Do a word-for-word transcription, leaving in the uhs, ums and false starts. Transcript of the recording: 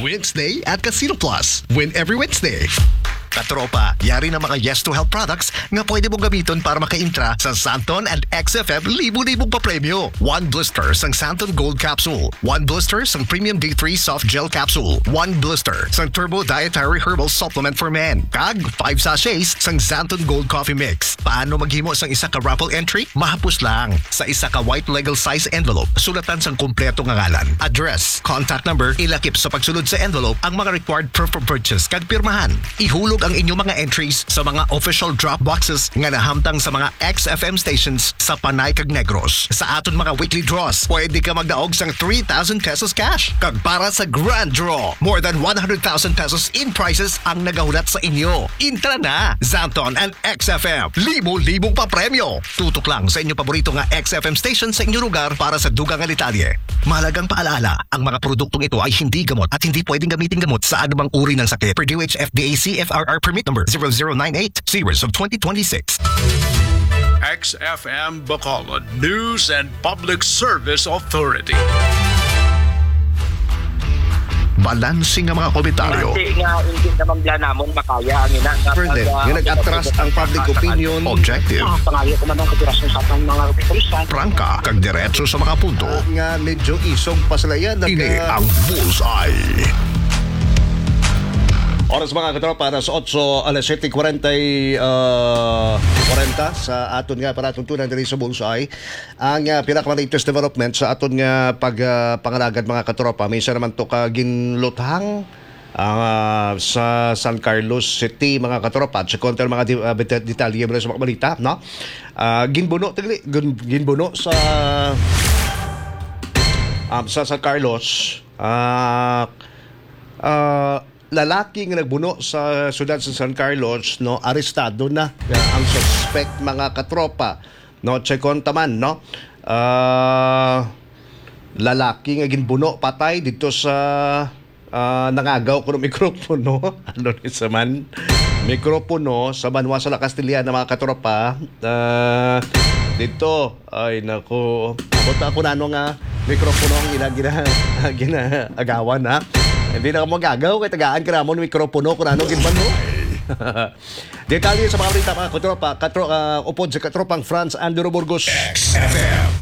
Wednesday at Casino Plus. Win every Wednesday. Katropa, yari na mga Yes to Help products nga pwede mong gamiton para makaintra sa Santon and X F M libo-libong papremyo. One blister sang Santon Gold Capsule, one blister sang Premium D three Soft Gel Capsule, one blister sang Turbo Dietary Herbal Supplement for Men, kag five sachets sang Santon Gold Coffee Mix. Paano maghimo sang isa ka raffle entry? Mahapos lang. Sa isa ka white legal size envelope, sulatan sang kompleto nga ngalan, address, contact number, ilakip sa pagsulod sa envelope ang mga required proof of purchase kag pirmahan. Ihulog ang inyong mga entries sa mga official drop boxes nga nahamtang sa mga X F M stations sa Panay kag Negros. Sa aton mga weekly draws, pwede ka magdaog sang three thousand pesos cash. Kag para sa grand draw, more than one hundred thousand pesos in prizes ang nagahulat sa inyo. Intra na! Santon and X F M, libo-libong papremyo. Tutok lang sa inyong paborito nga X F M station sa inyong lugar para sa dugang nga detalye. Mahalagang paalaala, ang mga produktong ito ay hindi gamot at hindi pwedeng gamitin gamot sa anumang uri ng sakit. Per D O H F D A C F R R permit number zero zero nine eight, series of twenty twenty-six. X F M Bacolod News and Public Service Authority. Balanse nga mga komentaryo. Base nga hindi naman bala namon makaya ang ina nga Fernand, pag, ah, nga nag-atras ang public opinion. Objective. Ah, pangayo ko man ang kooperasyon sa atong mga kapulisan. Prangka kag diretso sa mga punto. Ah, nga medyo isog pa sila yan. Ini ang Bullseye. Oras, mga katropa, alas otso, alas siyete kwarenta, ah, kwarenta sa aton nga palatuntunan diri sa Bullseye. Ang, ah, pinaka-latest development sa aton nga pag, ah, pangalagad, mga katropa, may isa naman to ka ginluthang, ah, sa San Carlos City, mga katropa. At sa kontra mga di-, ah, beta-, detalye mula sa mga balita, no? Ah, ginbuno, tigli, gin-, ginbuno sa, um, sa San Carlos, ah, ah, lalaki nga nagbuno sa siyudad sa San Carlos, no, arestado na, ah, ang suspect, mga katropa, no, Checon Taman, no. Ah, lalaki nga ginbuno patay dito sa, ah, nangagaw kuno mikropono. Ano ni sa man? Mikropono sa banwa sa La Castellana, mga katropa. Ah, dito, ay, naku. Abot ako na ano nga mikropono ang ila gina-, ginaagawan, ha? Hindi na ako mag-agaw kay tagaan ka namon mikropono kung ano ginbalo. Detalye sa mga balita, mga katropa, katro-, ah, upod sa katropang Franz Andrew Burgos. X F M.